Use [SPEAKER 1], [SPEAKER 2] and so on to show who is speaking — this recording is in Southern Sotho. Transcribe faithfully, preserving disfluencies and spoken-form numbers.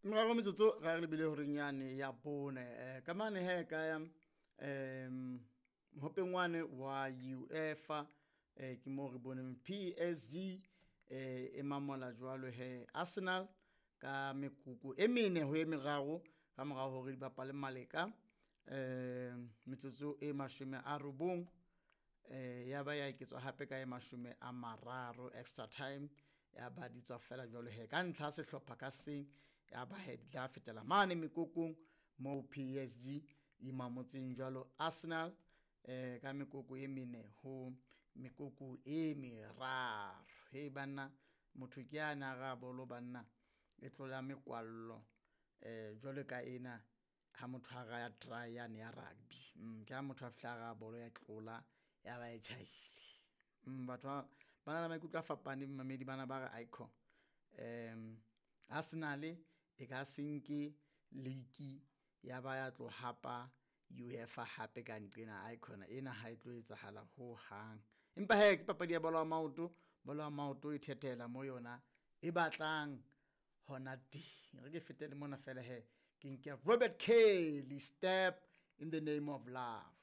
[SPEAKER 1] Meraro metsotso ra re lebile horeng yane ya bone. Eh ka mane he ka ya um mohopeng wane wa UEFA eh ke mo re boneng P S G eh e mamola jwalo he Arsenal ka mekoko e mene ho e meraro ka mora hore di bapale maleka eh metsotso e mashome a robong eh ya ba ya eketswa hape ka e mashome a mararo extra time ya ba di tswa fela jwalo he ka ntlha sehlopha ka seng ya ba he di tla fetela mane mekokong mo P S G e mamotseng jwalo Arsenal eh ka mekoko e mene ho mekoko e meraro. He banna motho ke a na ra bolo banna e tlola mekwallo eh jwalo ka ena ha motho a raya try yane ya rugby. Mm ke ha motho a fihla ra bolo ya tlola ya ba e tjhaile. Mm batho ba ba na le maikutlo a fapaneng mamedi bana ba re icon. Um Arsenal e ka se nke league ya ba ya tlo hapa UEFA hape ka nqena icon ena ha e tlo etsahala ho hang. Empa he ke papadi ya bolo ya maoto, bolo ya maoto e thethela mo yona e batlang hona teng. Re ke fetele mona fela he ke nke Robert Kelly, Step in the Name of Love.